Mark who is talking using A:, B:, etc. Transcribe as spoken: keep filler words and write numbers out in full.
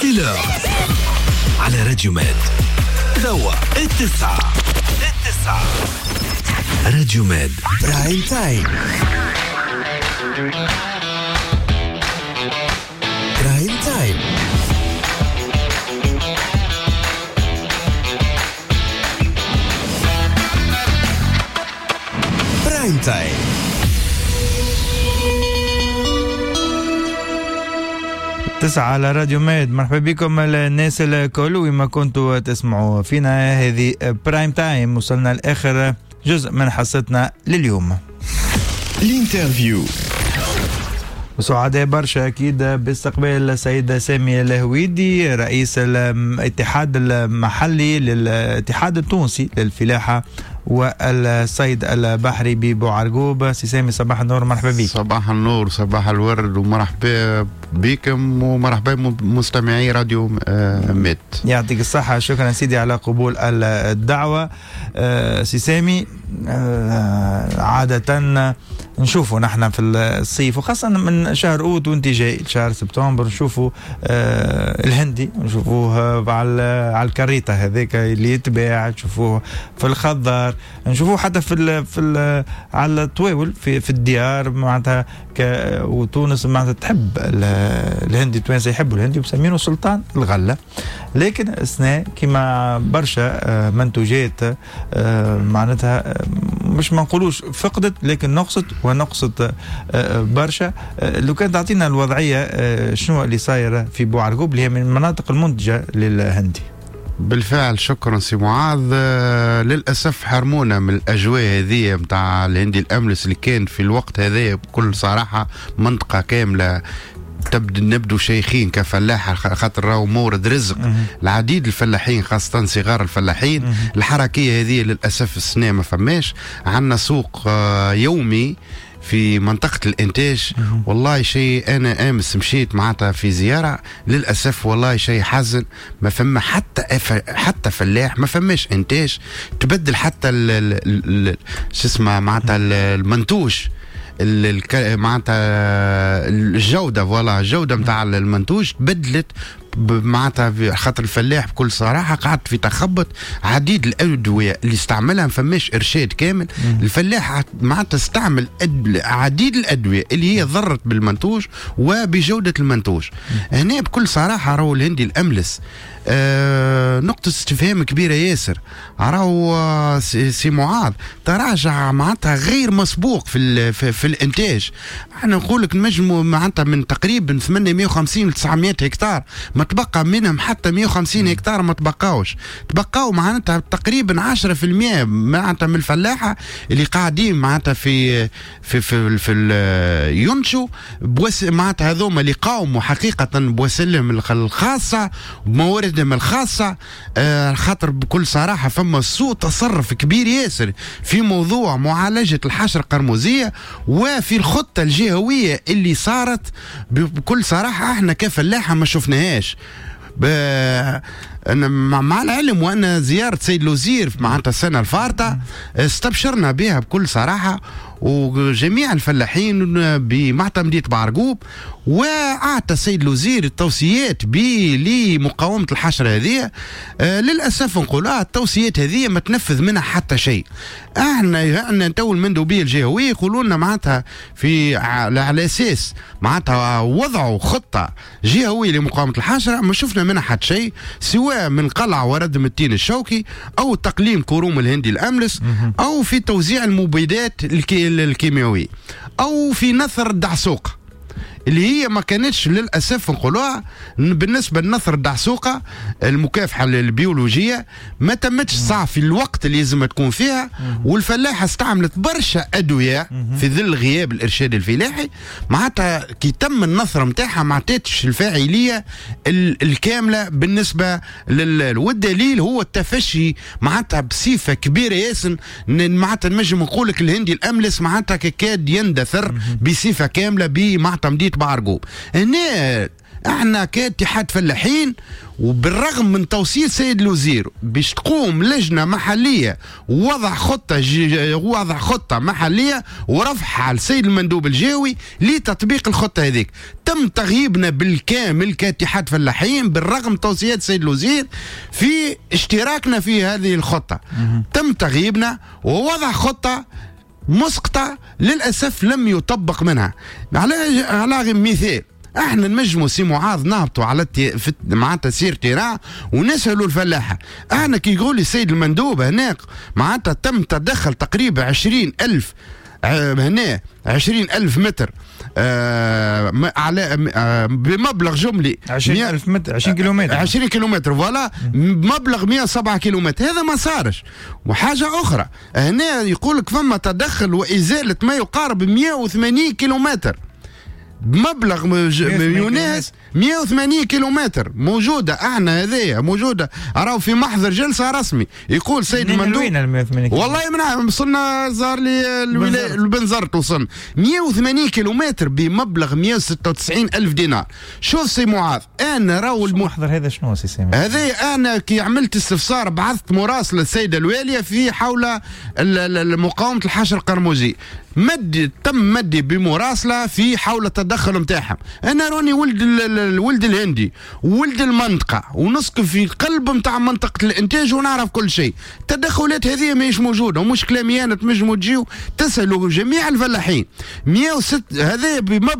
A: c'est l'heure على راديو ماد. توا التسعة التسعة راديو ماد prime time. prime time prime time.
B: تسعة على راديو ماد. مرحبا بكم الناس الكل وما كنتوا تسمعوا فينا، هذه prime time. وصلنا لآخر جزء من حصتنا لليوم،
A: ال interview.
B: وسعداء برشا أكيد باستقبال السيد سامي الهويدي، رئيس الاتحاد المحلي للاتحاد التونسي للفلاحة والصيد البحري ببوعرقوب. سي سامي صباح النور، مرحبا بك.
C: صباح النور، صباح الورد، ومرحبا بكم ومرحبا بمستمعي راديو ميد.
B: يعطيك الصحة، شكرا سيدي على قبول الدعوة. سي سامي، عادة نشوفوا نحن في الصيف وخاصة من شهر أوت وانت جاي شهر سبتمبر نشوفوا الهندي، نشوفوه على على الكريطة هذاك اللي يتباع، نشوفوه في الخضار، نشوفوه حتى في ال في ال على الطواول في في الديار معناتها. وتونس معناتها تحب الهندي، التوانسة يحبوا الهندي ومسمينه سلطان الغلة. لكن السنة كما برشا منتوجات معناتها مش ما نقولوش فقدت، لكن نقصت ونقصت برشا. لو كان تعطينا الوضعية شنو اللي صاير في بوعرقوب اللي هي من المناطق المنتجة للهندي.
C: بالفعل شكرا سي معاذ. للأسف حرمونا من الأجواء هذه متاع الهندي الأملس اللي كان في الوقت هذا بكل صراحة منطقة كاملة تبدو نبدو شيخين كفلاحة، خاطر راهو مورد رزق العديد الفلاحين خاصة صغار الفلاحين. الحركية هذه للأسف السنة ما فماش. عندنا سوق يومي في منطقة الإنتاج. والله شيء أنا أمس مشيت معناتها في زيارة، للأسف والله شيء حزن، ما فما حتى حتى فلاح، ما فماش إنتاج. تبدل حتى شو اسمه معناتها المنتوج، معناتها الجودة، voilà الجودة نتاع المنتوج تبدلت معناتها، خاطر الفلاح بكل صراحة قعد في تخبط. عديد الأدوية اللي استعملها ما فماش إرشاد كامل. الفلاح معناتها استعمل عديد الأدوية اللي هي ضرت بالمنتوج وبجودة المنتوج. هنا بكل صراحة راهو الهندي الأملس آه نقطة استفهام كبيرة ياسر. راهو سي معاذ تراجع معناتها غير مسبوق في في, في الإنتاج. احنا نقول لك نجموا معناتها من تقريبا ثمانمائة وخمسين ل تسعمائة هكتار ما تبقى منهم حتى مئة وخمسين هكتار، ما تبقاوش، تبقاو معناتها تقريبا عشرة بالمئة معناتها من الفلاحة اللي قاعدين معناتها في في في, في ينشوا بوس معناتها هذوما اللي قاوموا حقيقة بوسلهم الخاصة بمواردهم الخاصة. آه خاطر بكل صراحة فما سوء تصرف كبير ياسر في موضوع معالجة الحشرة القرمزية وفي الخطة الجهوية اللي صارت. بكل صراحة احنا كفلاحة ما شفناهاش. ب... أنا مع العلم وأن زيارة سيد الوزير معناتها السنة الفارطة استبشرنا بها بكل صراحة، وجميع الفلاحين بمعتمدية بعرقوب، وأعطى السيد الوزير التوصيات لمقاومة الحشرة هذه. آه للأسف نقول آه التوصيات هذه ما تنفذ منها حتى شيء. احنا احنا تو المندوبية الجهوية يقولوا لنا معناتها في على أساس معناتها وضعوا خطة جهوية لمقاومة الحشرة، ما شفنا منها حتى شيء، سواء من قلع وردم التين الشوكي أو تقليم كروم الهندي الأملس أو في توزيع المبيدات الكيميائية أو في نثر الدعسوقة اللي هي ما كانتش للأسف نقولوها. بالنسبة لنثر الدعسوقة المكافحة البيولوجية ما تمتش صح في الوقت اللي لازم تكون فيها، والفلاحة استعملت برشا أدوية في ظل غياب الإرشاد الفلاحي. معناتها كي تم النثر نتاعها ما عطاتش الفاعلية الكاملة بالنسبة لل... والدليل هو التفشي معناتها بصفة كبيرة ياسر. معناتها نجم نقول لك الهندي الأملس معناتها كاد يندثر بصفة كاملة بمعتمدية بعرقوب. هنا احنا كاتحاد فلاحين، وبالرغم من توصية سيد الوزير باش تقوم لجنة محليه ووضع خطه وضع خطه محليه ورفعها على السيد المندوب الجهوي لتطبيق الخطة هذيك، تم تغييبنا بالكامل كاتحاد فلاحين بالرغم توصيات السيد الوزير في اشتراكنا في هذه الخطة. تم تغييبنا ووضع خطه مسقطه للاسف لم يطبق منها. على على مثال احنا نجموا سي معاذ نهبطوا على التي... معناتها sur terrain ونسالوا الفلاحة. احنا كي يقول السيد المندوب هناك معناتها تم تدخل تقريبا عشرين ألف هنا عشرين ألف متر آه على آه بمبلغ جملي
B: عشرين ألف متر، عشرين كيلومتر،
C: عشرين كيلومتر voilà، بمبلغ مئة وسبعة كيلومتر. هذا ما صارش. وحاجة أخرى هنا يقول لك فما تدخل وإزالة ما يقارب مئة وثمانين كيلومتر بمبلغ يناهز مئة وثمانين كيلومتر موجودة. احنا هذيا موجودة راهو في محضر جلسه رسمي يقول سيد المندوب.
B: وين
C: والله من وصلنا زار لي الولاية البنزرت وصلنا مئة وثمانين كيلومتر بمبلغ مئة وستة وتسعين ألف دينار. شوف سي معاذ انا راهو
B: المحضر هذا شنو سي سامي؟
C: هذا انا كي عملت استفسار بعثت مراسله السيدة الواليه في حول مقاومة الحشر القرمزي، مد تم مدي بمراسله في حول التدخل نتاعهم. انا راني ولد الولد الهندي ولد المنطقة ونسكن في قلب نتاع منطقة الانتاج ونعرف كل شيء. التدخلات هذه ماهيش موجودة ومش كلامي انا، تنجموا تجيو تسالوا جميع الفلاحين. مئة وستة هذا بمبلغ